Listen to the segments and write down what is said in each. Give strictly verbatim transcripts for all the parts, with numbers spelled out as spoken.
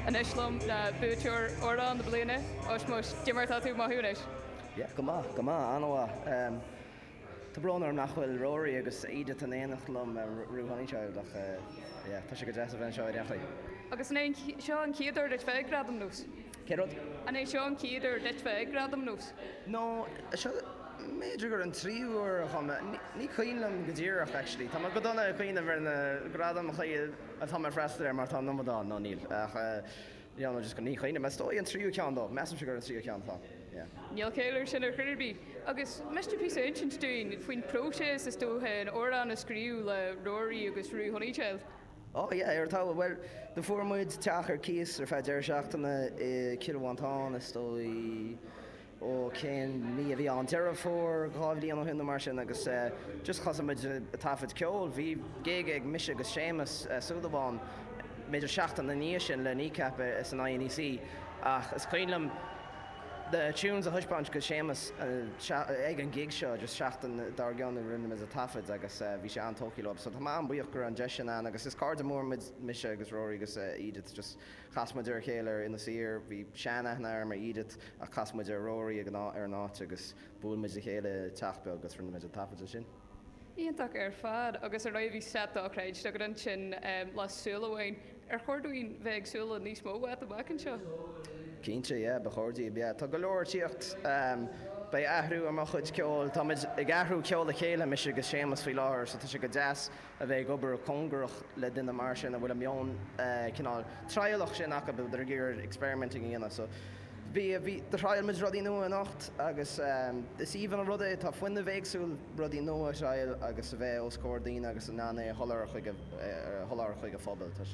Anois liom ná buaiteoir amhrán na bliana Oismos Dimar tá tú maithúnis. Yeah, go maith go maith an-mhaith. Tá brón orm nach bhfuil Rory agus Edith in éineacht liom Rue Honeychild ach tá sé go deas a bheith anseo ar Agus an é seo an chéad uair duit bheith ag Gradam Nós. Cé rud? An é seo an chéad uair duit bheith ag Gradam Nós? No seo b'fhéidir gur an tríú huair dhom ní cuimhin liom go díreach actually. Tá go dona ag cuimhneamh ar na gradaim atá mé freastal air mar tá an-iomad nó níl ach you just ní cuimhin is dóigh an tríú ceann dó, measaim gur an tríú ceann tá. Níl céir sin ar chuirbí. Agus miste pí insint dúinn faoin próiseas is dócha an amhrán a scríobh le Rory agus Rue Honeychild. Oh yeah, ar tá well do fuair muid teach ar cíos ar feadh deireadh seachtaine i Cill Mhantáin is dóigh ó cén mí a bhí ann Deireadh Fómhair dhá bhliain ó shin mar sin agus uh, just thosaigh muid taifead ceol, bhí gig ag mise agus Séamus uh, Súilleabháin b'fhéidir seachtain ina dhiaidh sin le Kneecap san INEC ach is cuimhin liom the tunes a thaispeáint go Séamus ag an gig seo just seachtain dár gcionn rinne muid an taifead agus bhí sé an-tógtha leo, so tá mé an-bhuíoch go an deis sin ann agus is cairde mór muid mise agus Rory agus Edith just chas muid ar chéile ar Inis Oírr, bhí seanaithne agam ar Edith ach chas muid ar Rory ag ar an áit agus bhuail muid a chéile teach beag agus rinne muid an taifead sin. Iontach ar fad agus ar bhí set dochreidte agat ansin le Súil Amháin ar chóir dúinn bheith ag súil le níos mó uait amach anseo. Cinnte é ba chóir yeah, Tá go leor tíocht um, Beidh athrú ar mo chuid ceoil Tá ag athrú ceol le chéile mise agus Séamus faoi láthair, so tá sé go deas a bheith ag obair cóngarach le duine mar sin a bhfuil a meon uh, cineál trialach sin acu ag iarraidh experimenting a dhéanamh so Bhí bhí thriail muid rudaí nua anocht agus um, is aoibhinn an rud é tá fuinneamh éagsúil rudaí nua a thriail agus a bheith os comhair daoine agus an é sholáthar chuig sholáthar chuig an phobal tá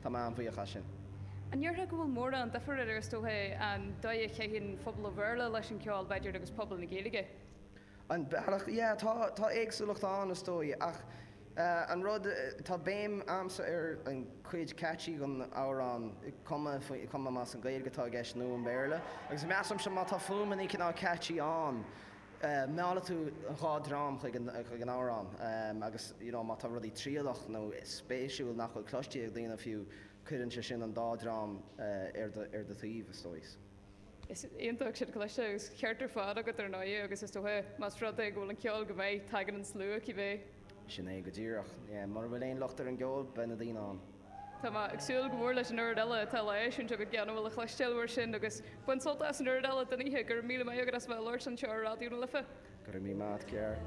tá mé an-bhuíoch as sin. An ndéarfá go bhfuil mórán difear idir is dócha an dóigh a chaitheann phobal an Bhéarla leis an ceol b'fhéidir agus pobal na Gaeilge. An bealach yeah, tá tá éagsúlacht ann is dóigh ach uh, an rud tá béim agamsa ar an cuid catchy an amhrán cuma cuma más an Gaeilge atá i gceist nó an Béarla agus measaim se má tá fuaimeanna cineál catchy ann. Uh, meallann tú an dhá dream chuig an chuig an amhrán um, agus you know, má tá rudaí trialach nó spéisiúil nach bhfuil cloiste ag daoine fiú cuireann sé sin an dá dream uh, ar ar do thaobh is dóigh. Is iontach sin cloiste agus ceart ar fad agat ar ndóigh agus is dócha más rud é go bhfuil an ceol go maith tagann an slua cibé. Sin é go díreach mar bhfuil aon locht ar an gceol beidh na daoine ann. Tá mé ag súil go mór leis an oiread eile atá le sin go gceanhfuil a chloisteáil sin agus bain sult as an oiread eile den oíche gur míle maith agat as bheith labhairt anseo ar Raidió na Life. Go raibh míle maith cear.